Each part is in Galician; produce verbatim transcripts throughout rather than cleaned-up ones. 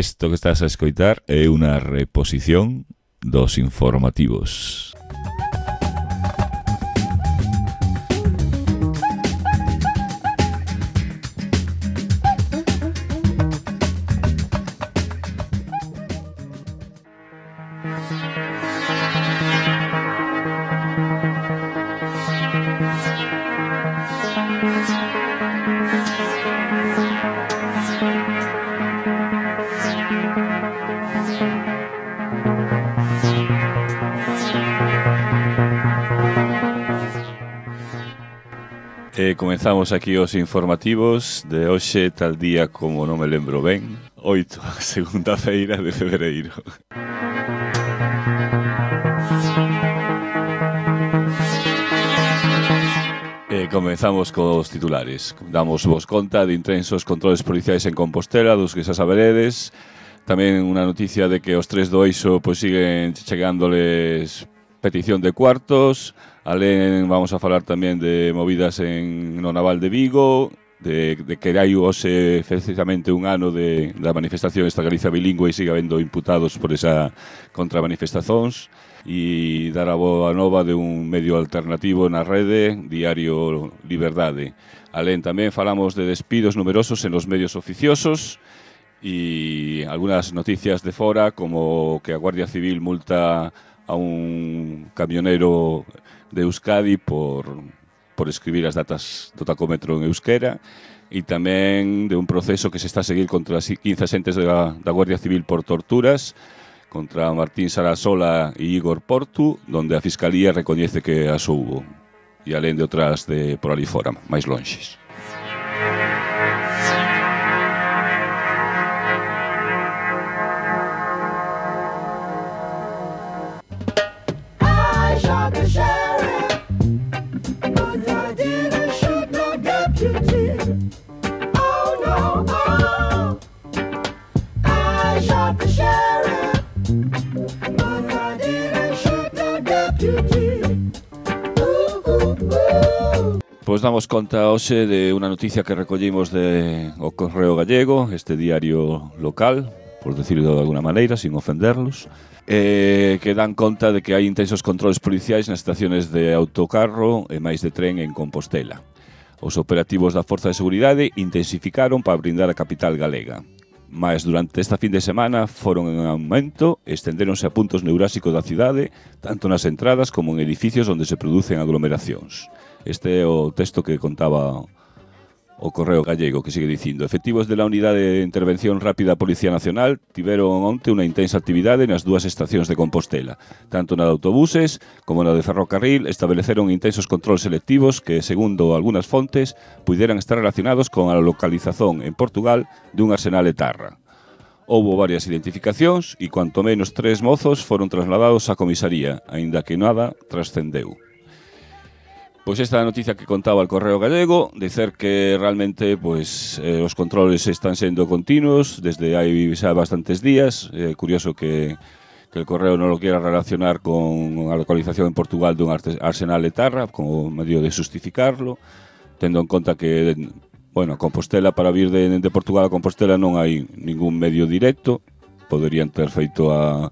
Isto que estás a escoitar é unha reposición dos informativos. E comenzamos aquí os informativos de hoxe, tal día como non me lembro ben, oito, segunda feira de febreiro. E comenzamos cos titulares. Damos vos conta de intensos controles policiais en Compostela, dos que xa saberedes. Tamén unha noticia de que os tres do Eixo pois siguen chegándoles petición de cuartos. Alén vamos a falar tamén de movidas en no Naval de Vigo, de, de que hai hoxe precisamente un ano de, da manifestación esta Galicia bilingüe e sigue habendo imputados por esa contramanifestacións, e dar a boa nova de un medio alternativo na rede, Diario Liberdade. Alén tamén falamos de despidos numerosos en os medios oficiosos e algunhas noticias de fora, como que a Guardia Civil multa a un camionero de Euskadi por, por escribir as datas do tacómetro en euskera, e tamén de un proceso que se está a seguir contra as quince axentes da, da Guardia Civil por torturas, contra Martín Sarasola e Igor Portu, donde a Fiscalía recoñece que as houbo, e alén de outras de por ali fora, máis lonxes. Pois damos conta hoxe de unha noticia que recollimos de O Correo Gallego, este diario local, por decirlo de alguna maneira, sin ofenderlos, eh, que dan conta de que hai intensos controles policiais nas estaciones de autocarro e máis de tren en Compostela. Os operativos da Forza de Seguridade intensificaron para brindar a capital galega. Mas durante esta fin de semana foron en aumento e estendéronse a puntos neurásicos da cidade, tanto nas entradas como en edificios onde se producen aglomeracións. Este é o texto que contaba o Correo Gallego, que sigue dicindo: efectivos de la Unidade de Intervención Rápida Policía Nacional tiveron onte unha intensa actividade nas dúas estacións de Compostela. Tanto na de autobuses como na de ferrocarril estableceron intensos controles selectivos que, segundo algunhas fontes, puderan estar relacionados con a localización en Portugal dun arsenal etarra. Houbo varias identificacións e cuanto menos tres mozos foron trasladados á comisaría, aínda que nada trascendeu. Pois esta noticia que contaba el Correo Gallego, dicer que realmente pois, eh, os controles están sendo continuos desde hai xa bastantes días. É eh, curioso que, que el Correo non lo quiera relacionar con a localización en Portugal dun arsenal etarra como medio de justificarlo, tendo en conta que, bueno, Compostela, para vir de, de Portugal a Compostela non hai ningún medio directo. Poderían ter feito a...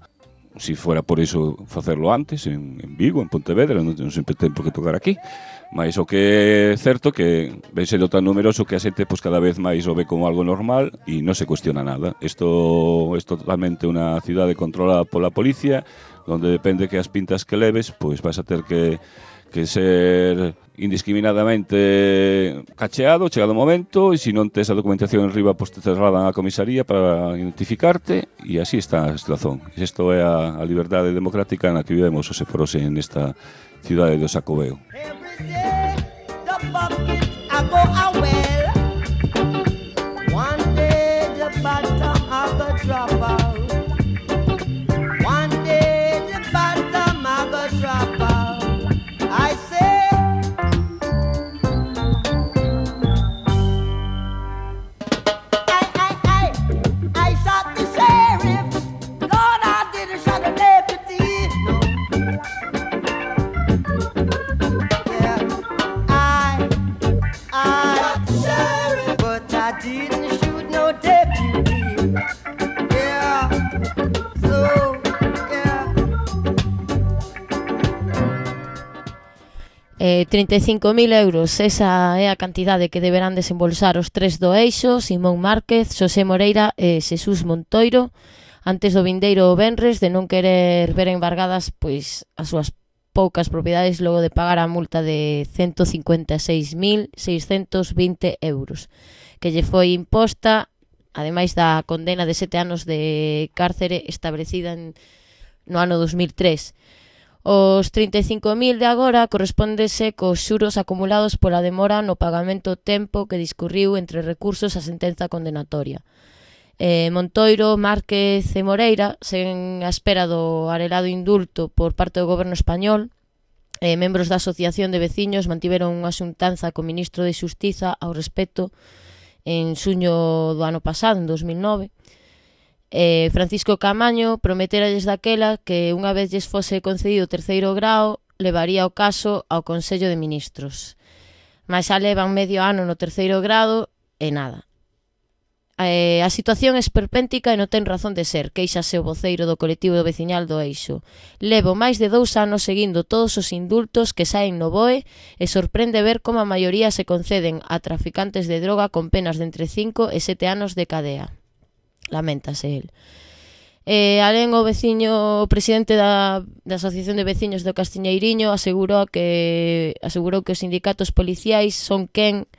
si fuera por iso facerlo antes en, en Vigo, en Pontevedra, non, non sempre ten por que tocar aquí, mas o que é certo que ven sendo tan numeroso que a xente pues, cada vez máis o ve como algo normal e non se cuestiona nada. Isto é totalmente unha cidade controlada pola policía, onde depende que as pintas que leves, pois vas a ter que que ser indiscriminadamente cacheado, chegado o momento, e se non tes a documentación en riba, pois te trasladan á comisaría para identificarte, e así está a situación. Isto é a, a liberdade democrática na que vivemos, ou se forose nesta cidade do Xacobeo. Eh, trinta e cinco mil euros, esa é a cantidade que deberán desembolsar os tres do Eixo, Simón Márquez, Xosé Moreira e Xesús Montoiro, antes do vindeiro venres de non querer ver embargadas pois as súas poucas propiedades logo de pagar a multa de ciento cincuenta e seis mil seiscentos vinte euros, que lle foi imposta, ademais da condena de sete anos de cárcere establecida en, no ano dos mil tres. Os trinta e cinco mil de agora correspóndese cos xuros acumulados pola demora no pagamento tempo que discurriu entre recursos a sentenza condenatoria. Eh, Montoiro, Márquez e Moreira, sen a espera do arelado indulto por parte do goberno español, eh, membros da Asociación de Veciños mantiveron unha xuntanza co ministro de Xustiza ao respecto en xuño do ano pasado, en dos mil nove. Eh, Francisco Camaño prometeralles daquela que unha vez lles fose concedido o terceiro grao levaría o caso ao Consello de Ministros. Mas xa levan medio ano no terceiro grado e nada. Eh, a situación é esperpéntica e non ten razón de ser, queixase o voceiro do colectivo do veciñal do Eixo. Levo máis de dous anos seguindo todos os indultos que saen no B O E e sorprende ver como a maioría se conceden a traficantes de droga con penas de entre cinco e sete anos de cadea. Laméntase el. Eh, alén o veciño, o presidente da, da Asociación de Veciños do Castiñeiriño asegurou que asegurou que os sindicatos policiais son quen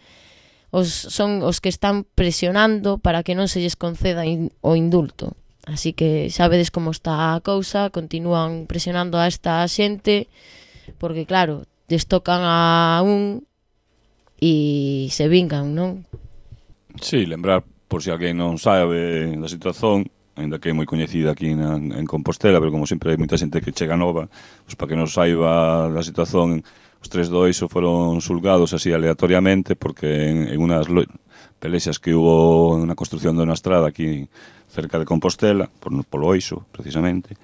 os, son os que están presionando para que non se lles conceda in, o indulto. Así que sabedes como está a cousa, continúan presionando a esta xente porque claro, les tocan a un e se vingan, non? Sí, lembrar, por se si alguén non sabe da situación, ainda que é moi coñecida aquí na, en Compostela, pero como sempre hai moita xente que chega nova, pues para que non saiba da situación, os tres do Eixo foron xulgados así aleatoriamente, porque en, en unas pelexas que hubo na construcción de unha estrada aquí cerca de Compostela, por, polo Eixo, precisamente,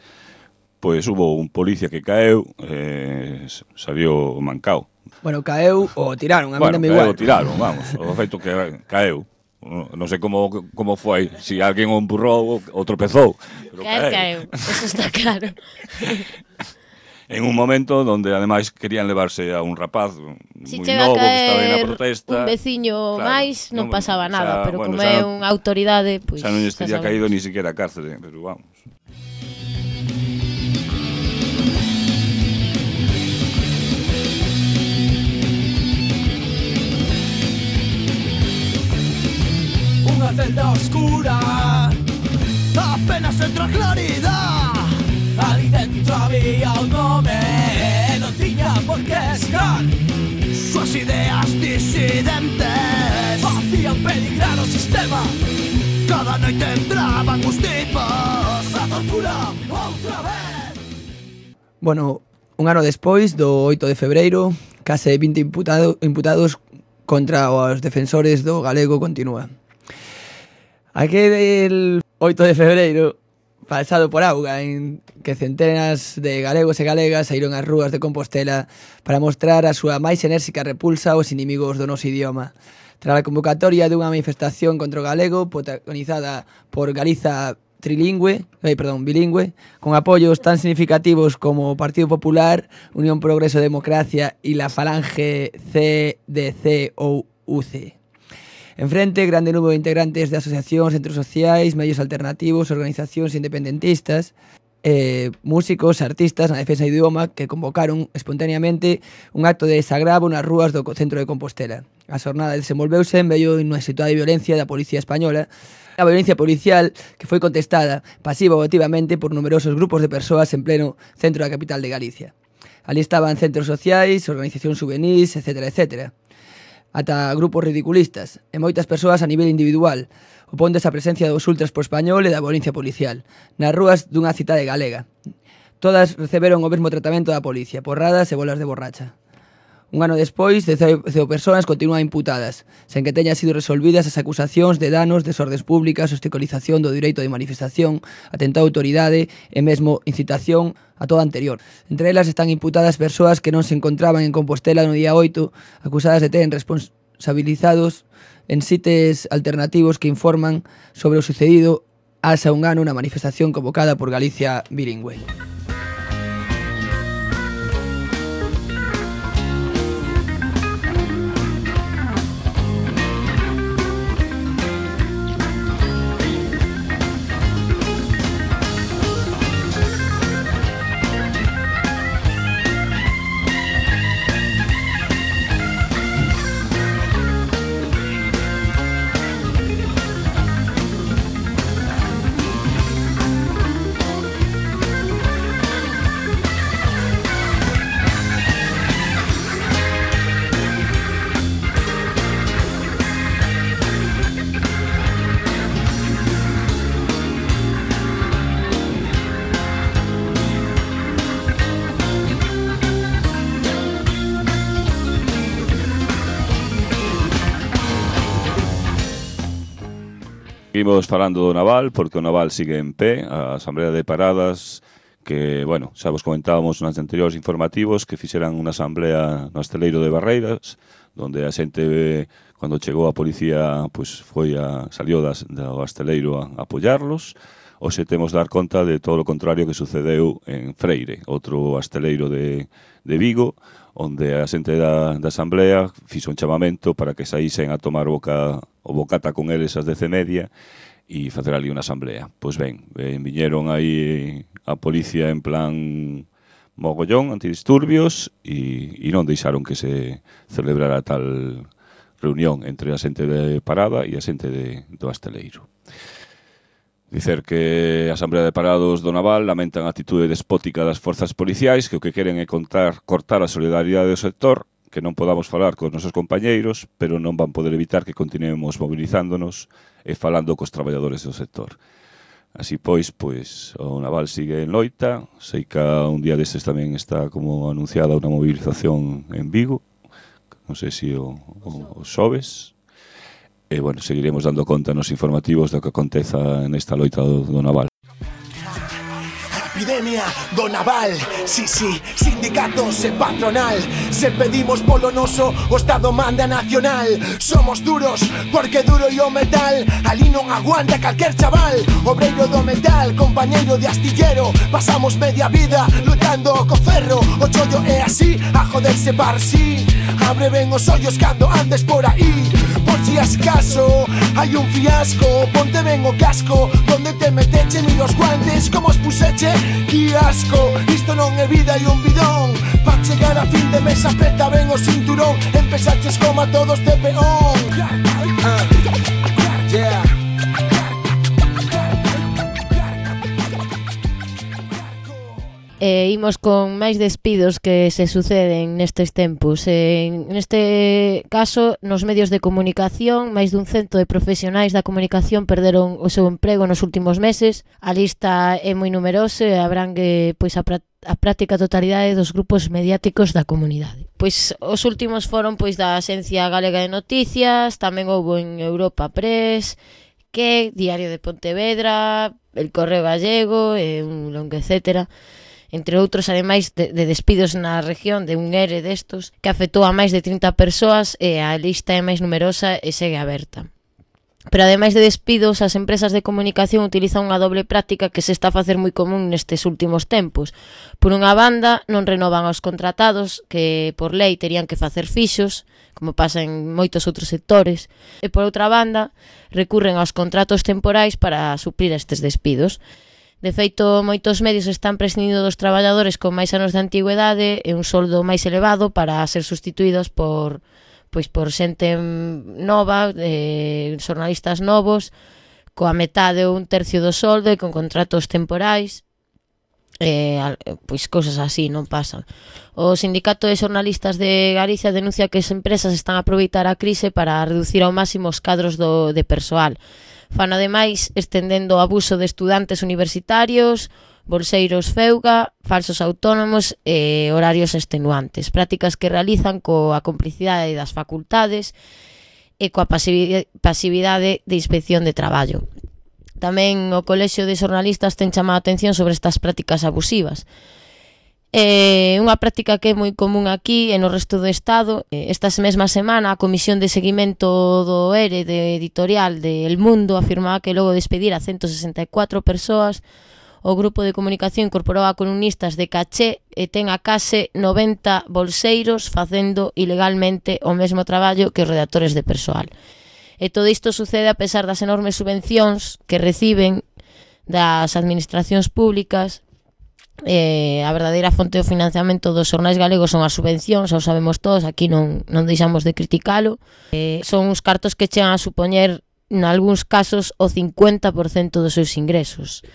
pois hubo un policía que caeu, eh, salió mancao. Bueno, caeu ou tiraron, a mí bueno, non me igual. Bueno, tiraron, vamos, o feito que caeu. Non sei como como foi, se si alguén o empurrou ou tropezou, pero caeu, caeu, eso está claro. En un momento donde ademais querían levarse a un rapaz si moi novo que estaba aí na protesta. Un veciño claro, máis non, non pasaba nada, xa, pero bueno, como é unha autoridade, pois xa non lle estaría caído ni siquiera a cárcere, pero vamos. Unha celda oscura, apenas entra claridad. Ali dentro había un nome, non tiña por que estar. Suas ideas disidentes facían peligrar o sistema. Cada noite entraban os tipos a tortura outra vez. Bueno, un ano despois do oito de febreiro, case vinte imputado, imputados contra os defensores do galego continúa. Aquel oito de febreiro, pasado por auga, en que centenas de galegos e galegas saíron ás rúas de Compostela para mostrar a súa máis enérxica repulsa aos inimigos do noso idioma. Tras a convocatoria dunha manifestación contra o galego protagonizada por Galiza trilingüe, eh, perdón, bilingüe, con apoios tan significativos como o Partido Popular, Unión Progreso Democracia e la Falange C D C ou U C. En frente, grande número de integrantes de asociacións, centros sociais, medios alternativos, organizacións independentistas, eh, músicos, artistas na defensa do idioma que convocaron espontaneamente un acto de desagravo nas rúas do centro de Compostela. A xornada desenvolveuse en medio dunha situación de violencia da policía española, a violencia policial que foi contestada pasiva ou activamente por numerosos grupos de persoas en pleno centro da capital de Galicia. Ali estaban centros sociais, organizacións juvenís, etcétera, etcétera. Ata grupos ridiculistas e moitas persoas a nivel individual, opóndose a presencia dos ultras por español e da violencia policial nas rúas dunha cidade galega. Todas receberon o mesmo tratamento da policía, porradas e bolas de borracha. Un ano despois, dezasete persoas continúan imputadas, sen que teñan sido resolvidas as acusacións de danos, desordens públicas, obstaculización do direito de manifestación, atentado a autoridade e mesmo incitación a todo anterior. Entre elas están imputadas persoas que non se encontraban en Compostela no día oito, acusadas de ter responsabilizados en sites alternativos que informan sobre o sucedido hace un ano na manifestación convocada por Galicia Bilingüe. seguimos falando do naval, porque o naval sigue en pé, a Asamblea de Paradas, que, bueno, xa vos comentábamos nos anteriores informativos, que fixeran unha asamblea no Asteleiro de Barreiras, donde a xente, cando chegou a policía, pues, foi a, salió das, do Asteleiro a, a apoiarlos. Hoxe temos dar conta de todo o contrario que sucedeu en Freire, outro asteleiro de, de Vigo, onde a xente da, da Asamblea fixo un chamamento para que saísen a tomar boca, o bocata con eles as dez e media e facer ali unha asamblea. Pois ben, eh, viñeron aí a policía en plan mogollón, antidisturbios, e, e non deixaron que se celebrara tal reunión entre a xente de Parada e a xente de, do Asteleiro. Dicer que a Asamblea de Parados do Naval lamentan a atitude despótica das forzas policiais, que o que queren é contar, cortar a solidariedade do sector, que non podamos falar cos nosos compañeiros, pero non van poder evitar que continuemos mobilizándonos e falando cos traballadores do sector. Así pois, pois, o Naval sigue en loita. Sei que un día destes tamén está como anunciada unha movilización en Vigo, non sei se o, o, o xoves. E, bueno, seguiremos dando conta nos informativos do que aconteza nesta loita do, do Naval. Epidemia do naval, sí, sí, sindicatos e patronal. Se pedimos polo noso, o Estado manda nacional. Somos duros, porque duro e o metal ali non aguanta calquer chaval. Obreiro do metal, compañeiro de astillero. Pasamos media vida lutando co ferro. O chollo é así, a joderse par sí. Abre ben os ollos cando andes por aí. Por si acaso hai un fiasco, ponte ben o casco. Donde te meteche, mira os guantes, como os puseche. Que asco, isto non é vida e un bidón. Pa chegar a fin de mes apreta ben o cinturón. Empezaches como a todos de peón. uh, Yeah. E imos con máis despidos que se suceden nestes tempos. En neste caso, nos medios de comunicación, máis dun cento de profesionais da comunicación perderon o seu emprego nos últimos meses. A lista é moi numerosa e abrangue pois a, pra a práctica totalidade dos grupos mediáticos da comunidade. Pois os últimos foron pois da Axencia Galega de Noticias, tamén houbo en Europa Press, que Diario de Pontevedra, El Correo Gallego e un longo etcétera. Entre outros, ademais de, de despidos na región de un ERE destos que afectou a máis de trinta persoas, e a lista é máis numerosa e segue aberta. Pero ademais de despidos, as empresas de comunicación utilizan unha doble práctica que se está a facer moi común nestes últimos tempos. Por unha banda, non renovan aos contratados, que por lei terían que facer fixos, como pasa en moitos outros sectores, e por outra banda, recurren aos contratos temporais para suplir estes despidos. De feito, moitos medios están prescindindo dos traballadores con máis anos de antigüedade e un soldo máis elevado para ser sustituídos por pois por xente nova, eh, xornalistas novos, coa metade ou un tercio do soldo e con contratos temporais. Eh, pois cousas así non pasan. O Sindicato de Xornalistas de Galicia denuncia que as empresas están a aproveitar a crise para reducir ao máximo os cadros do, de persoal. Fan ademais estendendo o abuso de estudantes universitarios, bolseiros feuga, falsos autónomos e horarios extenuantes, prácticas que realizan coa complicidade das facultades e coa pasividade de inspección de traballo. Tamén o Colexio de Xornalistas ten chamado a atención sobre estas prácticas abusivas. É unha práctica que é moi común aquí e no resto do Estado. Esta mesma semana a Comisión de Seguimento do ERE de editorial de El Mundo afirmaba que logo de despedir a ciento sesenta e catro persoas, o grupo de comunicación incorporou a columnistas de caché e ten a case noventa bolseiros facendo ilegalmente o mesmo traballo que os redactores de persoal. E todo isto sucede a pesar das enormes subvencións que reciben das administracións públicas. Eh, a verdadeira fonte do financiamento dos xornais galegos son as subvencións, xa o sabemos todos, aquí non, non deixamos de criticalo. Eh, son uns cartos que chegan a supoñer, en algúns casos, o cincuenta por cento dos seus ingresos.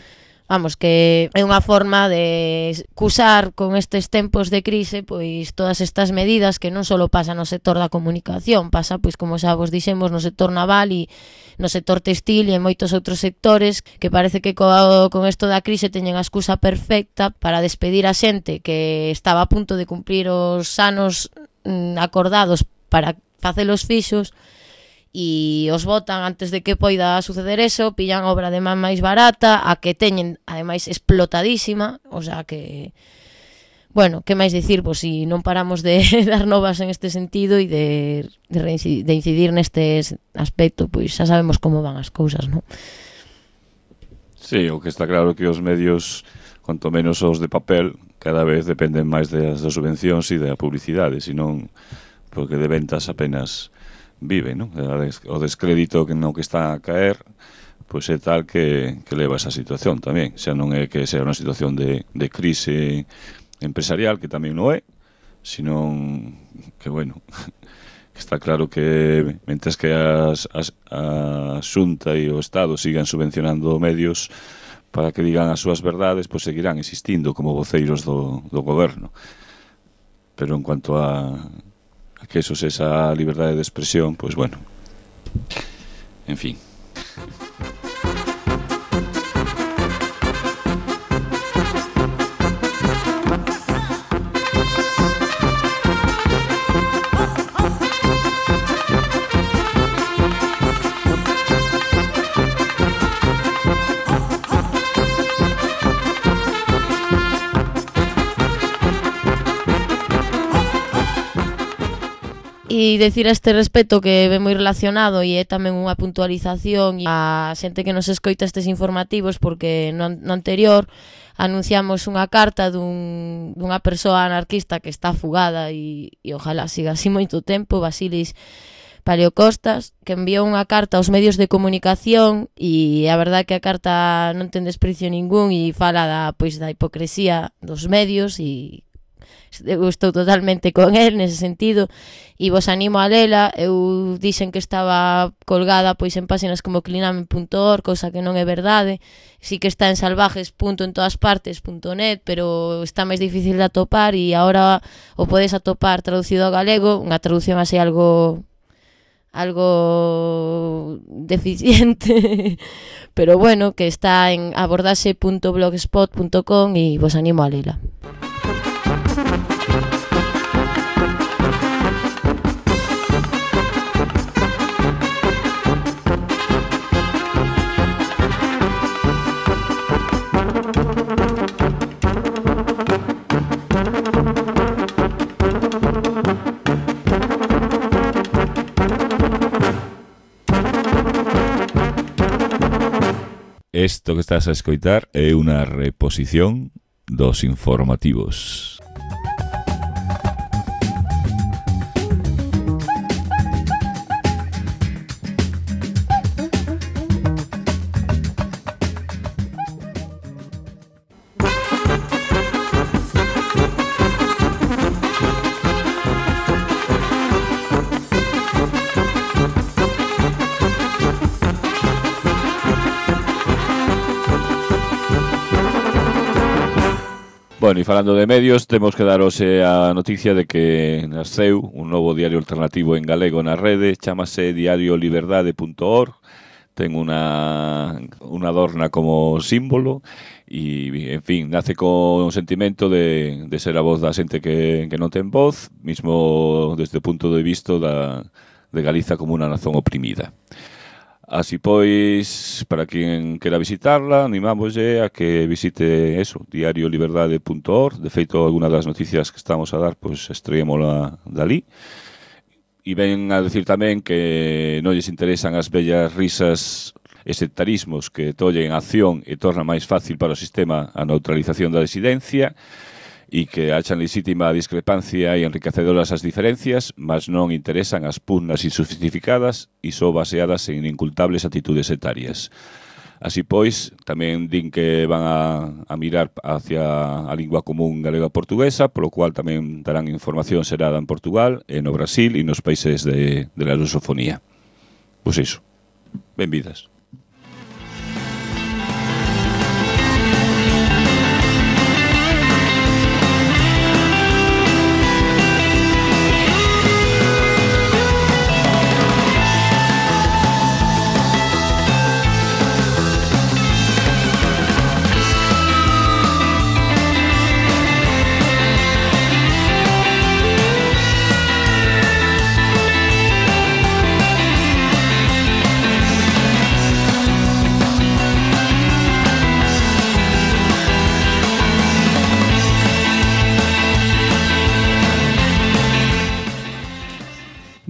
Vamos, que é unha forma de cusar con estes tempos de crise pois todas estas medidas que non só pasan no sector da comunicación, pasa, pois como xa vos dixemos, no sector naval e no sector textil e en moitos outros sectores que parece que co, con isto da crise teñen a excusa perfecta para despedir a xente que estaba a punto de cumplir os anos mm, acordados para facer os fixos e os botan antes de que poida suceder eso, pillan obra de man máis barata, a que teñen, ademais, explotadísima, o sea que... Bueno, que máis dicir, pois si non paramos de dar novas en este sentido e de, de, reincidir, de incidir neste aspecto, pois xa sabemos como van as cousas, non? Sí, o que está claro que os medios, cuanto menos os de papel, cada vez dependen máis das, das subvencións e da publicidade, senón porque de ventas apenas vive, non? O descrédito que no que está a caer, pois é tal que, que leva esa situación tamén. Xa non é que sea unha situación de, de crise empresarial, que tamén non é, senón que, bueno, está claro que mentres que as, as, a Xunta e o Estado sigan subvencionando medios para que digan as súas verdades, pois seguirán existindo como voceiros do, do goberno. Pero en cuanto a, a que eso es esa liberdade de expresión, pois bueno, en fin. E decir a este respecto que ve moi relacionado e é tamén unha puntualización a xente que nos escoita estes informativos, porque no, no anterior anunciamos unha carta dun, dunha persoa anarquista que está fugada e, e ojalá siga así moito tempo, Basilis Paleocostas, que enviou unha carta aos medios de comunicación e a verdade que a carta non ten desprecio ningún e fala da, pois, da hipocresía dos medios e eu estou totalmente con el nese sentido e vos animo a lela. Eu dixen que estaba colgada pois en páxinas como cliname punto org, cousa que non é verdade. Sí que está en salvajes punto en todas partes punto net, pero está máis difícil de atopar e agora o podes atopar traducido ao galego, unha traducción así algo algo deficiente pero bueno, que está en abordaxe punto blogspot punto com e vos animo a lela. Isto que estás a escoitar é unha reposición dos informativos. Bueno, e falando de medios, temos que dar hoxe a noticia de que nasceu un novo diario alternativo en galego na rede, chamase diario liberdade punto org, ten unha, unha adorna como símbolo e, en fin, nace con un sentimento de, de ser a voz da xente que, que non ten voz, mismo desde o punto de vista da, de Galiza como unha nación oprimida. Así pois, para quen quera visitarla, animámoslle a que visite eso, diario liberdade punto org. De feito, alguna das noticias que estamos a dar, pois estreémola dali. E ven a decir tamén que non lles interesan as bellas risas e sectarismos que tollen a acción e torna máis fácil para o sistema a neutralización da disidencia, e que achan legítima a discrepancia e enriquecedoras as diferencias, mas non interesan as pugnas injustificadas e só baseadas en incultables actitudes sectarias. Así pois, tamén din que van a, a mirar hacia a lingua común galega portuguesa, polo cual tamén darán información xerada en Portugal, e no Brasil e nos países de, de la lusofonía. Pois iso. Benvidas.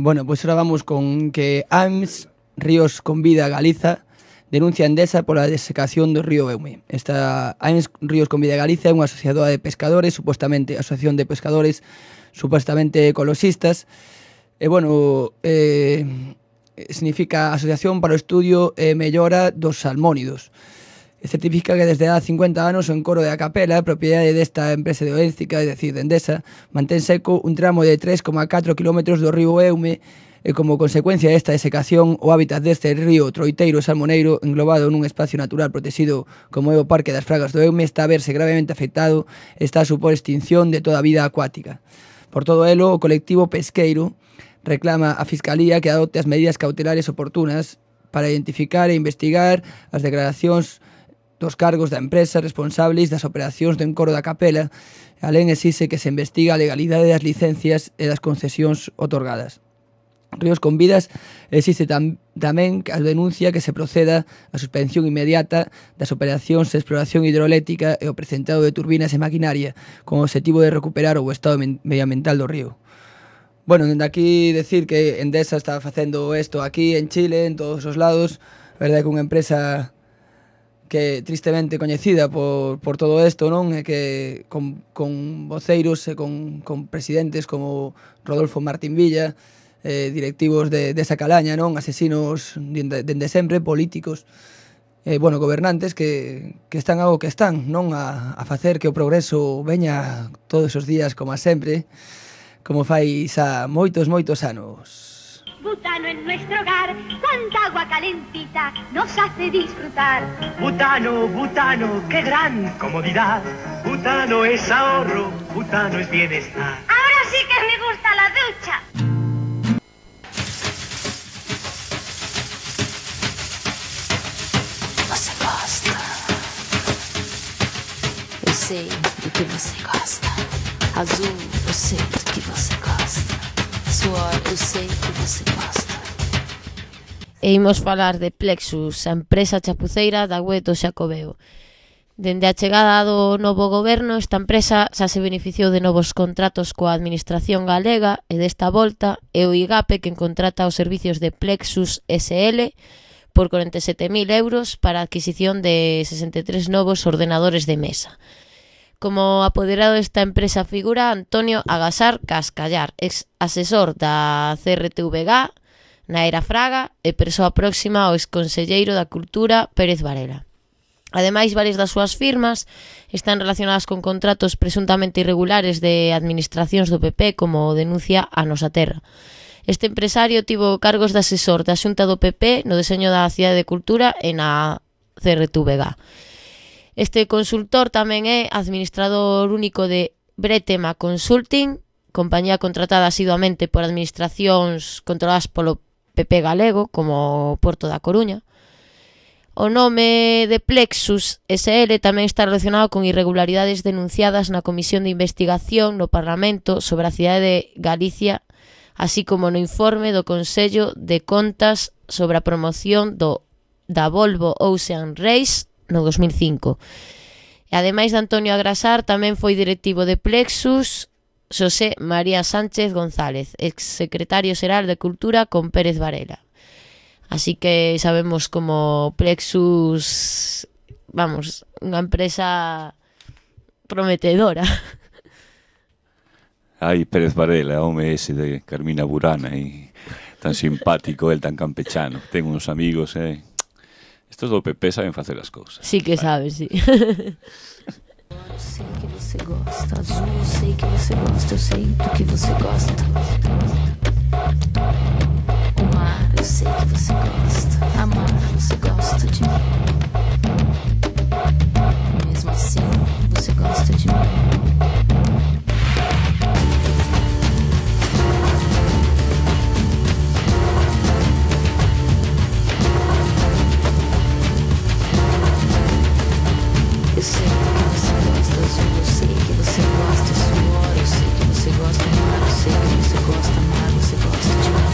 Bueno, pois ahora vamos con que A M S Ríos Convida a Galiza denuncia a Endesa pola desecación do río Eume. Esta A M S Ríos Convida a Galiza é unha asociadora de pescadores, supostamente asociación de pescadores supostamente ecoloxistas. E, bueno, eh, significa Asociación para o Estudio e Mellora dos Salmónidos. E certifica que desde há cincuenta anos o encoro de a Capela, propiedade desta empresa de Oéntica, é dicir, de Endesa, mantén seco un tramo de tres coma catro kilómetros do río Eume e como consecuencia desta desecación o hábitat deste río troiteiro e salmoneiro englobado nun espacio natural protegido como é o Parque das Fragas do Eume está a verse gravemente afectado e está a supor extinción de toda a vida acuática. Por todo elo, o colectivo pesqueiro reclama a Fiscalía que adopte as medidas cautelares oportunas para identificar e investigar as declaracións dos cargos da empresa responsables das operacións do encoro da Capela, alén exige que se investiga a legalidade das licencias e das concesións otorgadas. Ríos Convidas existe tam, tamén a denuncia que se proceda a suspensión inmediata das operacións de exploración hidroeléctrica e o precentado de turbinas e maquinaria con o objetivo de recuperar o estado medioambiental do río. Bueno, dende aquí decir que Endesa está facendo isto aquí en Chile, en todos os lados. A verdade é que unha empresa que tristemente coñecida por, por todo isto, non? E que con, con voceiros e con, con presidentes como Rodolfo Martín Villa, eh, directivos de, desa calaña, non? Asesinos dende, dende sempre, políticos, eh, bueno, gobernantes que, que están ao que están, non? A, a facer que o progreso veña todos os días como a sempre, como fai xa moitos, moitos anos. Butano en nuestro hogar, cuánta agua calentita nos hace disfrutar. Butano, butano, qué gran comodidad. Butano es ahorro, butano es bienestar. Ahora sí que me gusta la ducha. Você gosta. Eu sei do que você gosta. Azul, eu sei do que você gosta. Suor, eu sei que você gosta. E imos falar de Plexus, a empresa chapuceira da web do Xacobeo. Dende a chegada do novo goberno, esta empresa xa se beneficiou de novos contratos coa administración galega e desta volta é o IGAPE quen contrata os servicios de Plexus S L por corenta e sete mil euros para a adquisición de sesenta e tres novos ordenadores de mesa. Como apoderado desta empresa figura Antonio Agasar Cascallar, ex asesor da C R T V G, Naera Fraga e persoa próxima ao exconselleiro da Cultura Pérez Varela. Ademais, varias das súas firmas están relacionadas con contratos presuntamente irregulares de administracións do P P, como denuncia a Nosa Terra. Este empresario tivo cargos de asesor da Xunta do P P no deseño da Cidade de Cultura e na C R T V G. Este consultor tamén é administrador único de Bretema Consulting, compañía contratada asiduamente por administracións controladas polo P P galego, como Porto da Coruña. O nome de Plexus S L tamén está relacionado con irregularidades denunciadas na Comisión de Investigación no Parlamento sobre a cidade de Galicia, así como no informe do Consello de Contas sobre a promoción do da Volvo Ocean Race no dos mil cinco. E ademais de Antonio Agasar, tamén foi directivo de Plexus Xosé María Sánchez González, exsecretario xeral de Cultura con Pérez Varela. Así que sabemos como Plexus, vamos, unha empresa prometedora. Ai, Pérez Varela, home ese de Carmina Burana, e tan simpático, el tan campechano. Ten uns amigos, eh. Estos do P P saben facer as cousas. Sí que saben, sí. Eu sei que você gosta, azul, eu sei que você gosta, eu sei do que você gosta. O mar, eu sei que você gosta, amar, você gosta de mim. Mesmo assim, você gosta de mim. Eu sei que você gosta, azul, eu sei que você gosta, suor, eu sei que você gosta, mar, eu sei que você gosta, amar, você gosta de mim.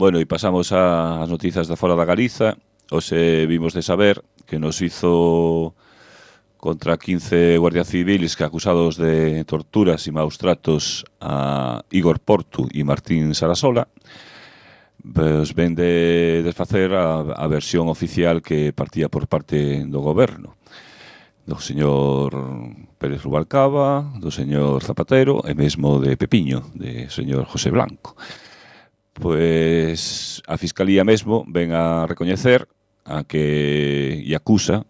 Bueno, e pasamos ás noticias da fora da Galiza. Hoxe vimos de saber que nos hizo contra quince guardias civiles que acusados de torturas e maus tratos a Igor Portu e Martín Sarasola, pues ven de desfacer a, a versión oficial que partía por parte do goberno, do señor Pérez Rubalcaba, do señor Zapatero e mesmo de Pepiño, de señor José Blanco. Pois a Fiscalía mesmo ven a recoñecer a que e acusa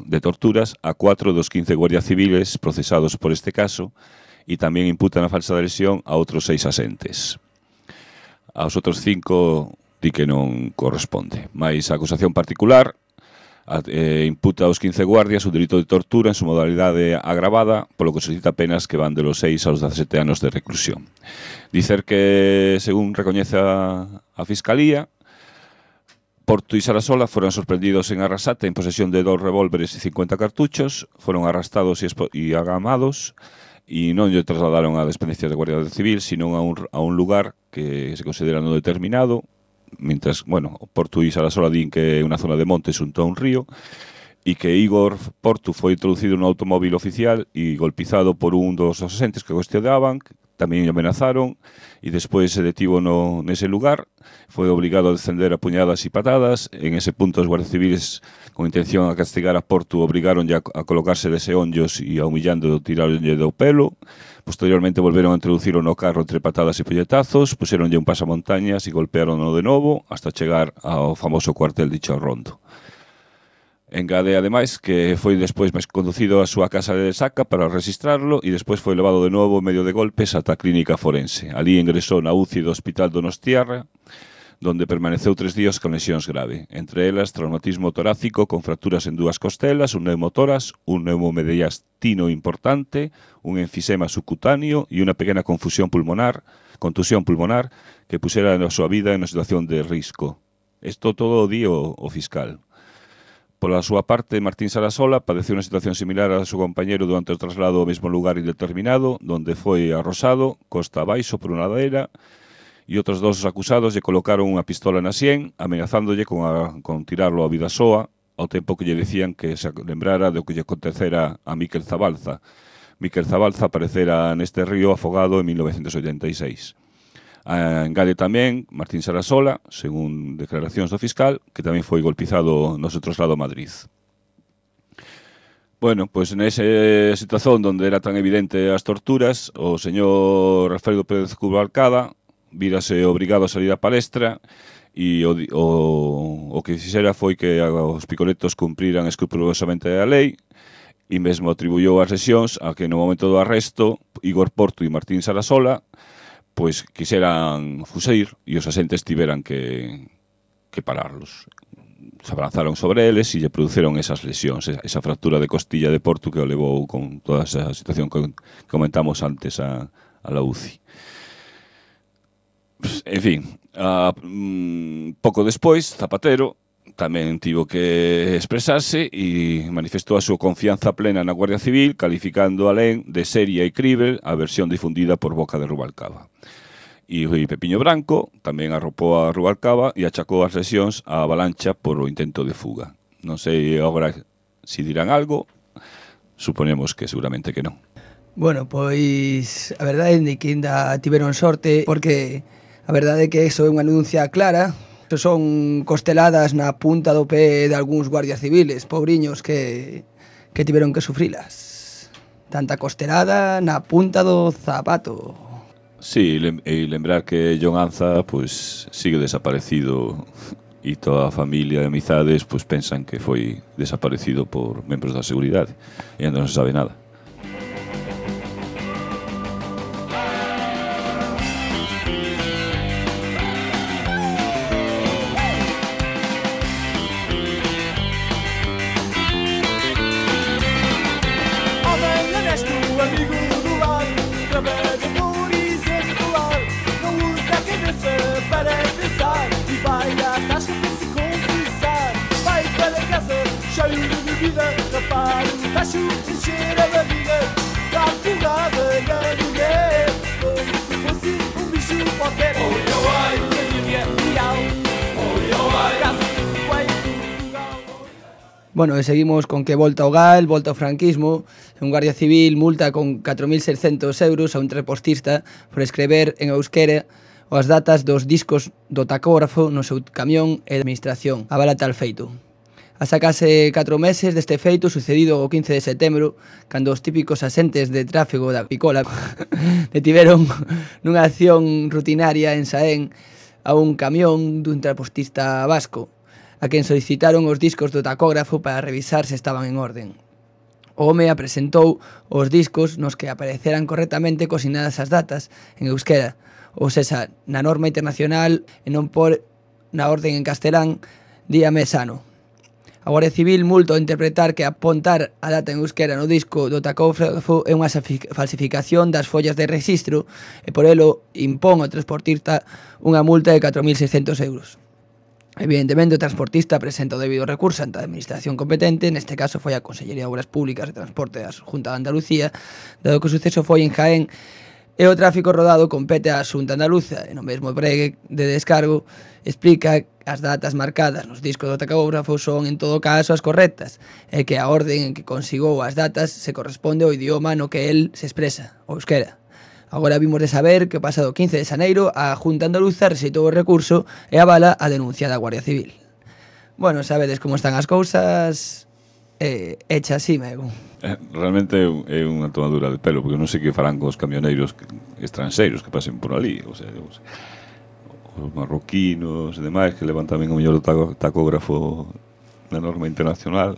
de torturas a cuatro dos quince guardias civiles procesados por este caso e tamén imputan a falsa adhesión a outros seis asentes. Aos outros cinco di que non corresponde. Mais a acusación particular eh, imputa aos quince guardias o delito de tortura en su modalidade agravada, polo que solicita penas que van de los seis aos dezasete anos de reclusión. Dicer que, según recoñece a, a Fiscalía, Portu e Sarasola foron sorprendidos en Arrasate en posesión de dos revólveres e cincuenta cartuchos, foron arrastados e, e agamados e non lle trasladaron a dependencias de Guardia Civil, sino a un, a un lugar que se considera non determinado, mientras, bueno, Portu e Sarasola din que é unha zona de monte xunto a un río e que Igor Portu foi introducido nun automóvil oficial e golpizado por un dos asentes que cuestionaban, tamén o amenazaron e despois se detivo no, nese lugar, foi obrigado a descender a puñadas e patadas. En ese punto os guardias civiles, con intención a castigar a Portu, obrigaron a, a colocarse dese onllos e a humillando tiraronlle do pelo. Posteriormente volveron a introducirlo no carro entre patadas e puñetazos, puseronlle un pasamontañas e golpearono de novo hasta chegar ao famoso cuartel de Chorrondo. Engade, ademais, que foi despois máis conducido á súa casa de Saca para registrarlo e despois foi levado de novo en medio de golpes ata a clínica forense. Ali ingresou na U C I do Hospital Donostiarra, donde permaneceu tres días con lesións grave, entre elas traumatismo torácico con fracturas en dúas costelas, un neumotoras, un neumomediastino importante, un enfisema subcutáneo e unha pequena confusión pulmonar, contusión pulmonar que pusera a súa vida en unha situación de risco. Isto todo o di o, o fiscal. Pola súa parte, Martín Sarasola padeceu unha situación similar a seu compañero durante o traslado ao mesmo lugar indeterminado, donde foi arrosado, costa abaixo por unha ladeira, e outros dos acusados lle colocaron unha pistola na sien, amenazándolle con, a, con tirarlo a vida soa, ao tempo que lle dicían que se lembrara do que lle acontecera a Miquel Zabalza. Miquel Zabalza aparecera neste río afogado en mil novecentos oitenta e seis. Engade tamén Martín Sarasola, según declaracións do fiscal, que tamén foi golpizado no seu traslado a Madrid. Bueno, pois pues nesa situación onde era tan evidente as torturas, o señor Alfredo Pérez Rubalcaba vírase obrigado a salir á palestra e o, o, o que fixera foi que os picoletos cumpriran escrupulosamente a lei e mesmo atribuyou as lesións a que no momento do arresto Igor Portu e Martín Sarasola pois quixeran fuseir e os asentes tiveran que, que pararlos. Se abalanzaron sobre eles e lle produceron esas lesións, esa fractura de costilla de Portu que o levou con toda esa situación que comentamos antes a, a la U C I. En fin, a, um, pouco despois, Zapatero tamén tivo que expresarse e manifestou a súa confianza plena na Guardia Civil, calificando alén de seria e crível a versión difundida por boca de Rubalcaba. E Pepiño Branco tamén arropou a Rubalcaba e achacou as lesións á avalancha por o intento de fuga. Non sei agora se dirán algo, suponemos que seguramente que non. Bueno, pois a verdade é que ainda tiveron sorte porque a verdade é que iso é unha denuncia clara. Son costeladas na punta do pé de algúns guardias civiles, pobriños que, que tiveron que sufrilas. Tanta costelada na punta do zapato. Sí, e lembrar que John Anza pues, sigue desaparecido e toda a familia e amizades pues, pensan que foi desaparecido por membros da seguridade e ainda non se sabe nada. Oh, Bueno, e seguimos con que volta ao gal, volta ao franquismo. Un guardia civil multa con catro mil seiscentos euros a un transportista por escrever en euskera as datas dos discos do tacógrafo no seu camión e de administración. Avala tal feito. Hasta case catro meses deste feito sucedido o quince de setembro, cando os típicos asentes de tráfego da Picola detiveron nunha acción rutinaria en Saén a un camión dun transportista vasco, a quen solicitaron os discos do tacógrafo para revisar se estaban en orden. O home apresentou os discos nos que apareceran correctamente cosinadas as datas en euskera, ou sexa, na norma internacional e non por na orden en castelán, día mes ano. A Guardia Civil multa ao interpretar que apontar a data en euskera no disco do tacógrafo é unha falsificación das follas de registro e por elo impón ao transportista unha multa de catro mil seiscentos euros. Evidentemente, o transportista presenta o debido recurso ante a administración competente, neste caso foi a Consellería de Obras Públicas e Transporte da Xunta de Andalucía, dado que o suceso foi en Jaén e o tráfico rodado compete á Xunta Andaluza, e no mesmo pregue de descargo explica as datas marcadas nos discos do tacógrafo son en todo caso as correctas, e que a orden en que consigou as datas se corresponde ao idioma no que el se expresa, o euskera. Agora vimos de saber que o pasado quince de xaneiro a Xunta Andaluza rexeitou o recurso e avala a denuncia da Guardia Civil. Bueno, sabedes como están as cousas, eh, hecha así, mego. Eh, realmente é unha tomadura de pelo, porque non sei que farán cos camioneiros estranxeiros que pasen por ali, o sea, os, os marroquinos e demais que levan tamén o mellor do tacógrafo na norma internacional.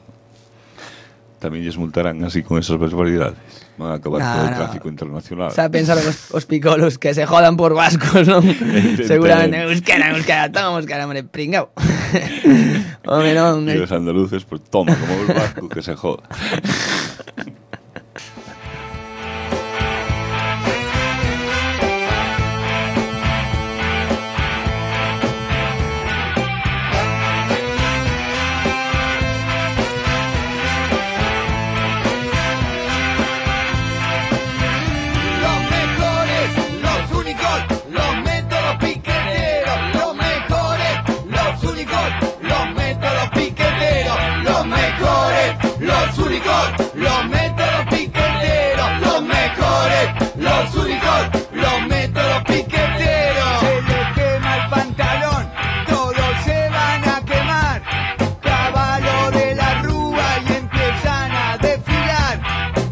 Tamén lles multarán así con esas barbaridades. Van a acabar no, con o no. tráfico internacional. O sea, pensaron os, os picolos que se jodan por vascos, non? Seguramente euskera, euskera, toma euskera, hombre, pringao. Home, non. E os andaluces, pues toma, como el vasco que se joda. Los únicos, los métodos piqueteros, los mejores, los únicos, los métodos piqueteros. Se les quema el pantalón, todos se van a quemar. Caballo de la rúa y empiezan a desfilar.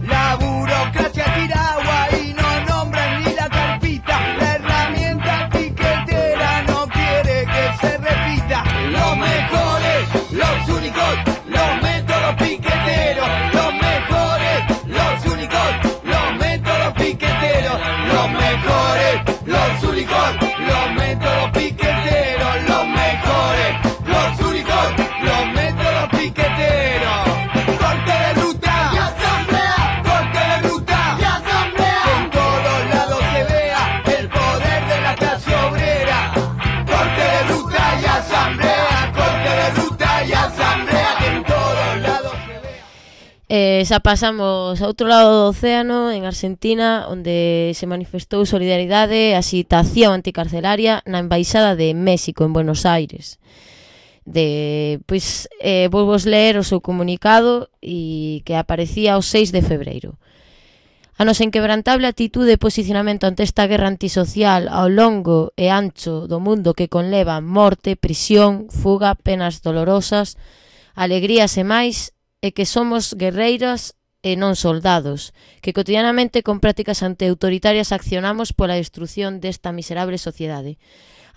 La burocracia tira agua y no nombran ni la carpita. La herramienta piquetera no quiere que se repita. Los mejores, los únicos, los métodos piqueteros, los mejores, los únicos, los métodos piqueteros, los mejores, los únicos, los métodos piqueteros, los mejores, los únicos, los métodos piqueteros. Corte de ruta y asamblea, corte de ruta y asamblea, que en todos lados se vea el poder de la clase obrera. Corte de ruta y asamblea, corte de ruta y asamblea, que en todos lados se vea. Eh, xa pasamos a outro lado do océano, en Argentina, onde se manifestou solidaridade e axitación anticarcelaria na Embaixada de México en Buenos Aires. De, pois, eh, vou vos ler o seu comunicado e que aparecía o seis de febreiro. A nosa inquebrantable actitude e posicionamento ante esta guerra antisocial ao longo e ancho do mundo que conleva morte, prisión, fuga, penas dolorosas, alegrías e máis, e que somos guerreiras e non soldados, que cotidianamente con prácticas antiautoritarias accionamos pola destrucción desta miserable sociedade.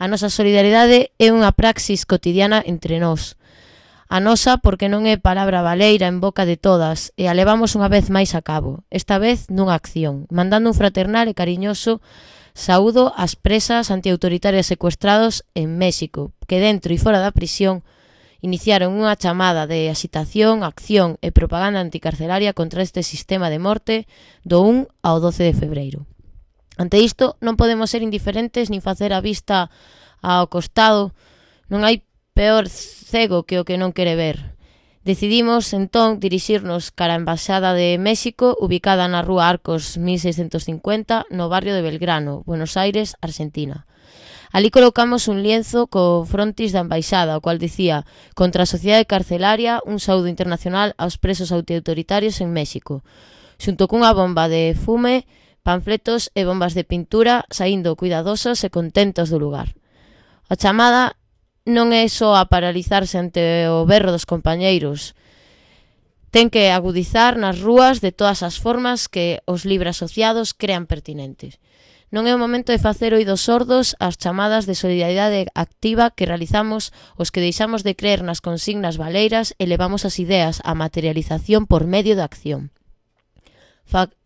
A nosa solidaridade é unha praxis cotidiana entre nós. A nosa porque non é palabra baleira en boca de todas e a levamos unha vez máis a cabo, esta vez nunha acción, mandando un fraternal e cariñoso saúdo ás presas antiautoritarias secuestrados en México, que dentro e fora da prisión iniciaron unha chamada de axitación, acción e propaganda anticarcelaria contra este sistema de morte do un ao doce de febreiro. Ante isto, non podemos ser indiferentes nin facer a vista ao costado. Non hai peor cego que o que non quere ver. Decidimos, entón, dirixirnos cara a Embaixada de México, ubicada na rúa Arcos mil seiscentos cincuenta, no barrio de Belgrano, Buenos Aires, Argentina. Ali colocamos un lienzo co frontis da embaixada, o cual dicía: contra a sociedade carcelaria, un saúdo internacional aos presos antiautoritarios en México, xunto cunha bomba de fume, panfletos e bombas de pintura, saindo cuidadosos e contentos do lugar. A chamada non é só a paralizarse ante o berro dos compañeiros, ten que agudizar nas rúas de todas as formas que os libre asociados crean pertinentes. Non é o momento de facer oídos sordos ás chamadas de solidariedade activa que realizamos os que deixamos de creer nas consignas baleiras e levamos as ideas á materialización por medio da acción.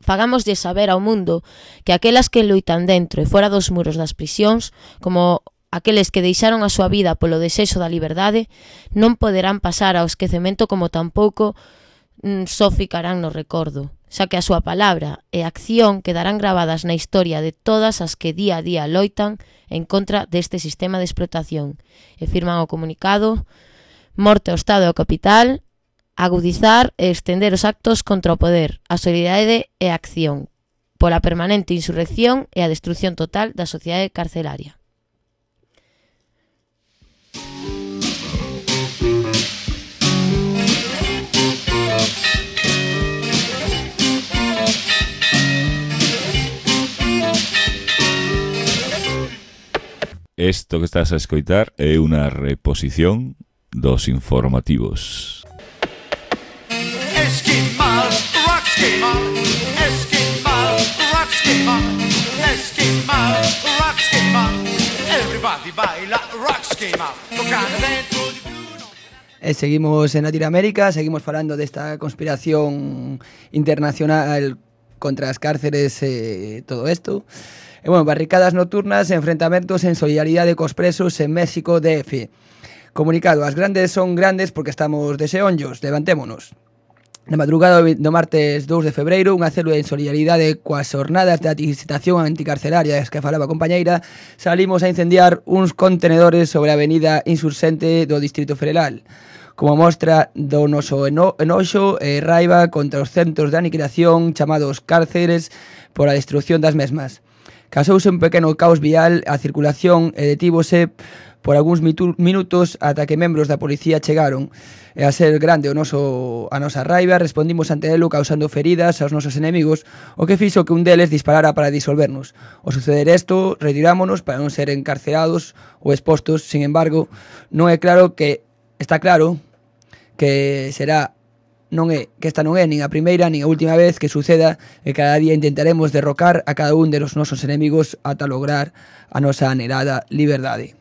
Fagámoslle saber ao mundo que aquelas que loitan dentro e fora dos muros das prisións, como aqueles que deixaron a súa vida polo desexo da liberdade, non poderán pasar ao esquecemento, como tampouco mm, só ficarán no recordo, xa que a súa palabra e acción quedarán gravadas na historia de todas as que día a día loitan en contra deste sistema de explotación. E firman o comunicado: morte ao Estado e ao capital, agudizar e estender os actos contra o poder, a solidariedade e a acción, pola permanente insurrección e a destrucción total da sociedade carcelaria. Isto que estás a escoitar é unha reposición dos informativos. Esquimal, rock esquimal, esquimal, rock esquimal, esquimal, rock esquimal. Everybody baila rock esquimal, tocando dentro de Bruno. E seguimos en Latinoamérica, seguimos falando desta conspiración internacional contra as cárceres e todo isto. E, bueno, barricadas nocturnas e enfrentamentos en solidaridade cos presos en México D F. Comunicado: as grandes son grandes porque estamos de xeonllos, levantémonos. Na madrugada do martes dous de febreiro, unha célula en solidaridade coas xornadas de agitación anticarcelaria das que falaba a compañeira, salimos a incendiar uns contenedores sobre a avenida Insurxente do Distrito Federal, como mostra do noso eno enoxo e raiva contra os centros de aniquilación chamados cárceres por a destrucción das mesmas. Casouse un pequeno caos vial, a circulación e detívose por algúns minutos ata que membros da policía chegaron. E a ser grande o noso, a nosa raiva, respondimos ante elo causando feridas aos nosos enemigos, o que fixo que un deles disparara para disolvernos. Ao suceder isto, retirámonos para non ser encarcelados ou expostos. Sin embargo, non é claro que está claro que será non é que esta non é nin a primeira nin a última vez que suceda, e cada día intentaremos derrocar a cada un de los nosos enemigos ata lograr a nosa anhelada liberdade.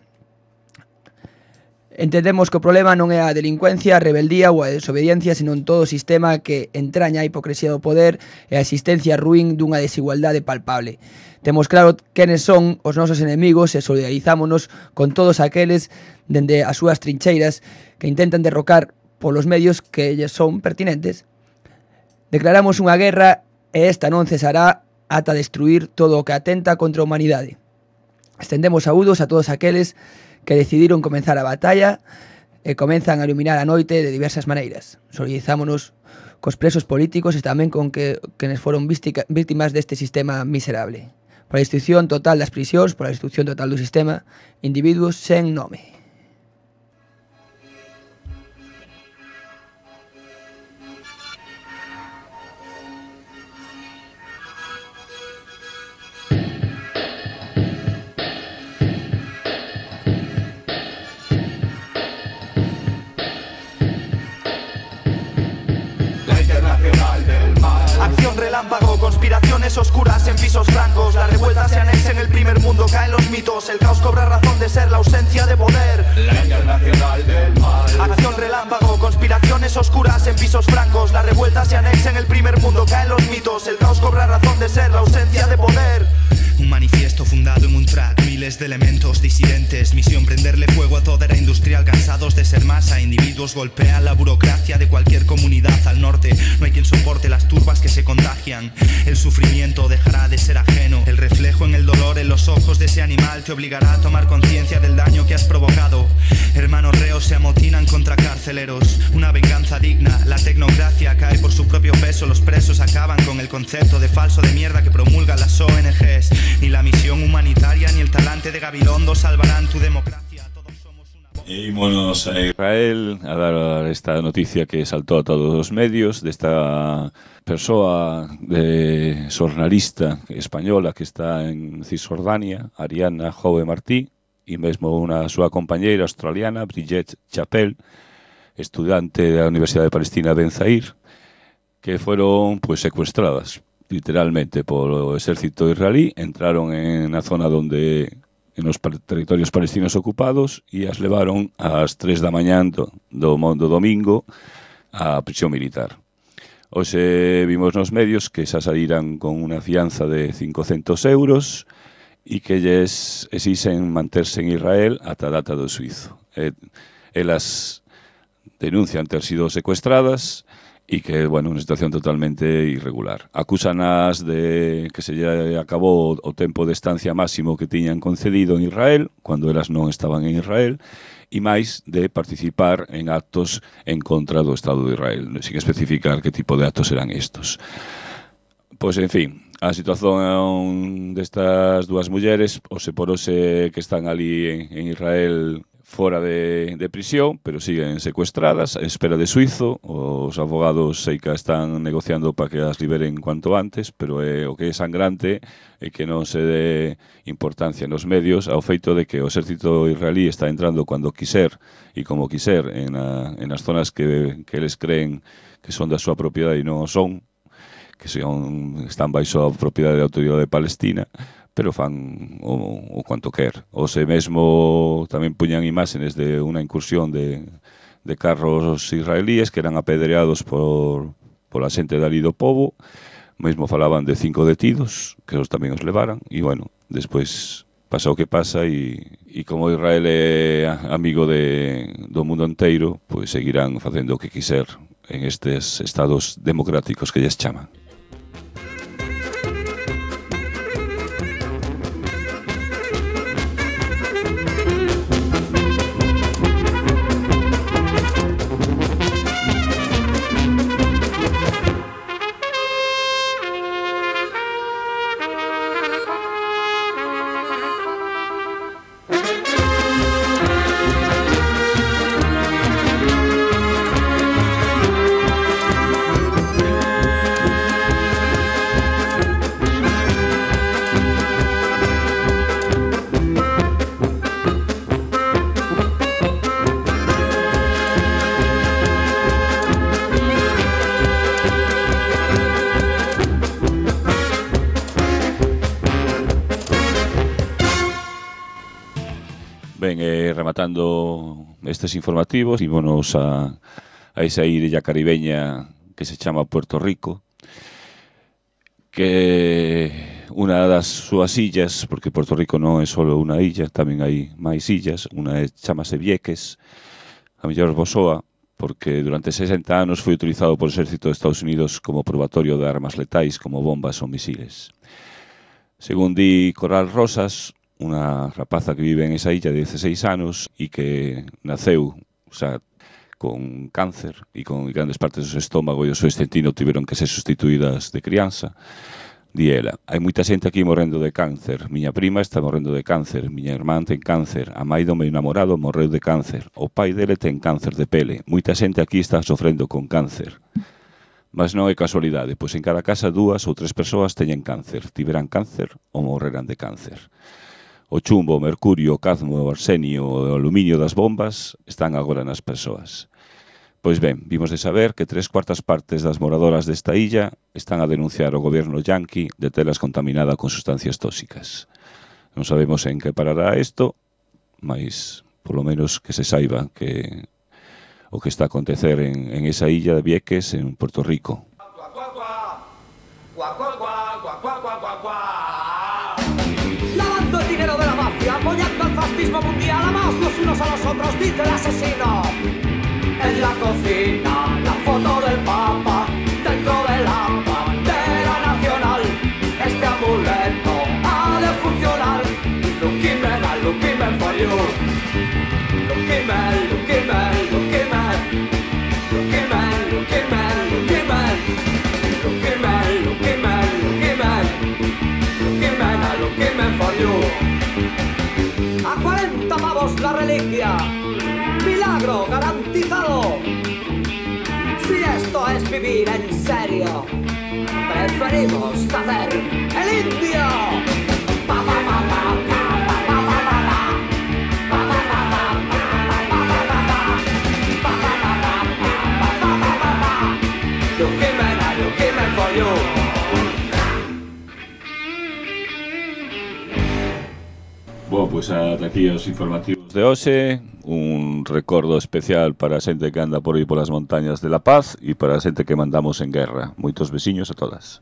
Entendemos que o problema non é a delincuencia, a rebeldía ou a desobediencia, senón todo o sistema que entraña a hipocresía do poder e a existencia ruín dunha desigualdade palpable. Temos claro quenes son os nosos enemigos e solidarizámonos con todos aqueles dende as súas trincheiras que intentan derrocar polos medios que lles son pertinentes. Declaramos unha guerra e esta non cesará ata destruir todo o que atenta contra a humanidade. Estendemos saúdos a todos aqueles que decidiron comenzar a batalla e comenzan a iluminar a noite de diversas maneiras. Solidarizámonos cos presos políticos e tamén con que quenes foron víctimas deste sistema miserable. Por a destrucción total das prisións, por a destrucción total do sistema, individuos sen nome. Conspiraciones oscuras en pisos blancos. La revuelta se anexa en el primer mundo. Caen los mitos. El caos cobra razón de ser. La ausencia de poder. La internacional del mal. Acción relámpago. Conspiraciones oscuras en pisos blancos. La revuelta se anexa en el primer mundo. Caen los mitos. El caos cobra razón de ser. La ausencia de poder. Un manifiesto fundado en un track, miles de elementos disidentes. Misión prenderle fuego a toda era industrial. Cansados de ser masa, individuos golpean la burocracia de cualquier comunidad al norte. No hay quien soporte las turbas que se contagian. El sufrimiento dejará de ser ajeno. El reflejo en el dolor en los ojos de ese animal te obligará a tomar conciencia del daño que has provocado. Hermanos reos se amotinan contra carceleros. Una venganza digna, la tecnocracia cae por su propio peso eso los presos acaban con el concepto de falso de mierda que promulgan las O N Ges. Ni la misión humanitaria ni el talante de Gabilondo salvarán tu democracia. Todos somos una... E ímonos a Israel a dar esta noticia que saltó a todos os medios desta persoa de xornalista española que está en Cisjordania, Ariana Jove Martí, e mesmo unha súa compañeira australiana, Brigitte Chappell, estudante da Universidade de Palestina Ben Zair, que foron pues, secuestradas literalmente polo exército israelí, entraron en a zona donde en os territorios palestinos ocupados e as levaron ás tres da mañán do, do, do domingo á prisión militar. Hoxe vimos nos medios que xa saíran con unha fianza de cincocentos euros e que lles exixen manterse en Israel ata a data do suizo. Eh, elas denuncian ter sido secuestradas e que, bueno, unha situación totalmente irregular. Acúsanas de que se lle acabou o tempo de estancia máximo que tiñan concedido en Israel, cando elas non estaban en Israel, e máis de participar en actos en contra do Estado de Israel, sin especificar que tipo de actos eran estos. Pois, en fin, a situación destas dúas mulleres, o se por ose que están ali en, en Israel fora de, de prisión, pero siguen secuestradas, a espera de suizo. Os abogados sei que están negociando para que as liberen cuanto antes, pero eh, o que é sangrante é que non se dé importancia nos medios ao feito de que o exército israelí está entrando cando quiser e como quiser en, a, en as zonas que, que eles creen que son da súa propiedade e non o son, que son, están baixo a propiedade da autoridade palestina, pero fan o, o cuanto quer. O se mesmo tamén puñan imágenes de unha incursión de, de carros israelíes que eran apedreados por, por a xente dali do pobo. Mesmo falaban de cinco detidos, que os tamén os levaran, e, bueno, despois pasa o que pasa, e, e como Israel é amigo de, do mundo inteiro, pois seguirán facendo o que quiser en estes estados democráticos que lles chaman. Ben, eh, rematando estes informativos, ímonos a, a esa illa caribeña que se chama Puerto Rico, que unha das súas illas, porque Puerto Rico non é só unha illa, tamén hai máis illas, unha é, chamase Vieques, a mellor vos soa, porque durante sesenta anos foi utilizado por o exército de Estados Unidos como probatorio de armas letais como bombas ou misiles. Según di Coral Rosas, unha rapaza que vive en esa illa de dieciséis anos e que naceu, o sea, con cáncer e con grandes partes do seu estómago e o seu intestino tiveron que ser sustituídas de crianza. Di ela, hai moita xente aquí morrendo de cáncer, miña prima está morrendo de cáncer, miña irmán ten cáncer, a mãe do meu namorado morreu de cáncer, o pai dele ten cáncer de pele, moita xente aquí está sofrendo con cáncer. Mas non é casualidade, pois en cada casa dúas ou tres persoas teñen cáncer, tiveran cáncer ou morreran de cáncer. O chumbo, o mercurio, o cadmio, o arsenio e o aluminio das bombas están agora nas persoas. Pois ben, vimos de saber que tres cuartas partes das moradoras desta illa están a denunciar ao goberno yanqui de telas contaminada con sustancias tóxicas. Non sabemos en que parará isto, mas polo menos que se saiba que o que está a acontecer en, en esa illa de Vieques, en Puerto Rico. Lavando el dinero de la mafia, apoyando al fascismo mundial, amaos los unos a los otros, dice el asesino. En la cocina, la foto del Papa, dentro de la bandera nacional. Este amuleto ha de funcionar. Lucky man, a lucky man for you. Lucky man, lucky man, lucky man. Lucky man, lucky man, lucky man. Somos la reliquia, milagro garantizado. Si esto es vivir en serio, preferimos hacer el indio. Pa, pa, pa, pa, pa, pa, pa, pa, pa. Bom, pois ata aquí os informativos de hoxe. Un recordo especial para a xente que anda por aí polas montañas de La Paz e para a xente que mandamos en guerra. Moitos besiños a todas.